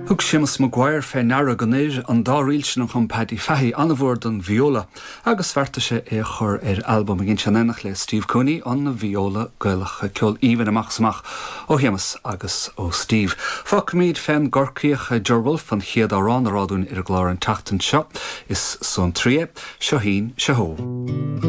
Thug Séamus Maguire fé ndeara go n-oir an dá ríl sin a chum Paddy Fahey an-mhór don vióla agus bheartaigh sé é a chur ar albam. Ag inse in éineacht le Steve Cooney an vióla Gaelach. Ceol aoibhinn amach is amach ó Shéamus agus ó Steve. Fágfaimid fén gCorcaíoch Ger Wolfe an chéad amhrán a rá dúinn ar an gclár an tseachtain seo. Is suantraí é. Seo Shín, Seo Shó.